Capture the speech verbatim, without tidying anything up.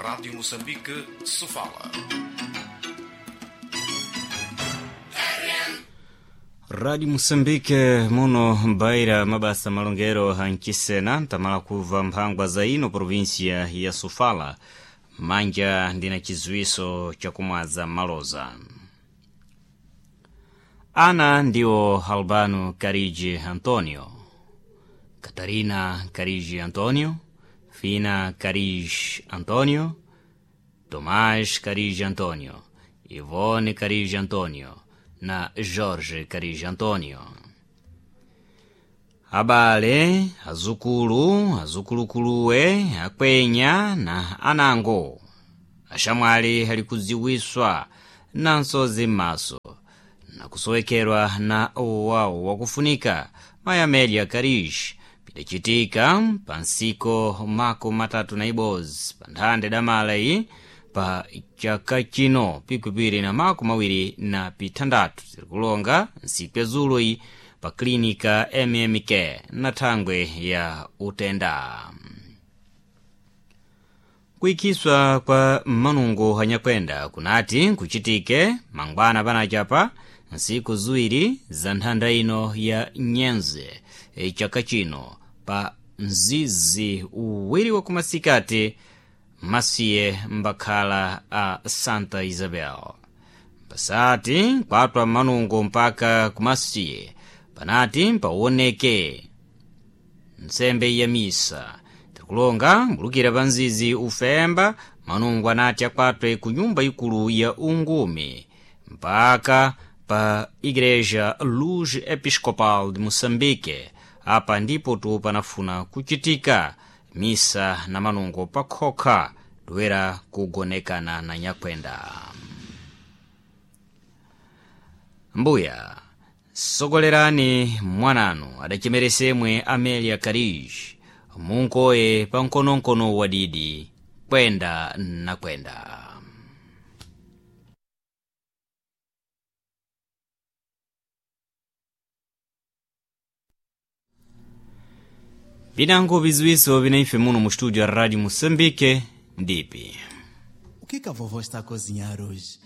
Rádio Moçambique, Sofala. Rádio Moçambique muno mbaira mabasa malongero anchisena ntamala kuva mphangwa za ino província ya Sofala manja ndina chiziwiso chakumwaza maloza. Ana ndiwo Albano Carigi Antonio, Catarina Carigi Antonio, Fina Carigi Antonio, Tomás Carigi Antonio, Ivone Carigi Antonio na Jorge Carigi Antonio. Abale, azukulu, azukulukuluwe, akwenya na anango axamwali ali kudziwiswa na nsozi m'maso na kusowekerwa na wawo wakufunika mayi Amélia Carigi pidacitika pa nsiko mako matatu na ibodzi pa nthande damala iyi pa chaka chino pikwipiri na mako mawiri na pithandatu zirikulonga nsiku ya zulo iyi pa klinika M M K na thangwe ya utenda. Kuikhiswa kwa manungo anyakwenda kunati kuchitike mangwana panachapa nsiku ziwiri za nthanda ino ya nyenze e chaka chino pa mzizi uwiri wa kumasikati masiye mbakhala a Santa Isabel. Pasati kwatwa manungo mpaka kumasiye panati mpawoneke nsembe ya misa tikulonga mbulukira pa nzizi ufemba manungo anati akwatwe ku nyumba ikulu ya ungumi mpaka pa Igreja Luz Episcopal de Moçambique. Apa ndipo tu panafuna kuchitika misa na manungo pakhokha toera kugonekana na nyakwenda. Mbuya sogolerani mwananu adachemeresemwe Amélia Carigi munkoye pa nkononkono wadidi kwenda na kwenda. Vinango viziwiso vinaife muno mu studio ya Rádio Moçambique ndipi. O que que a vovó está a cozinhar hoje?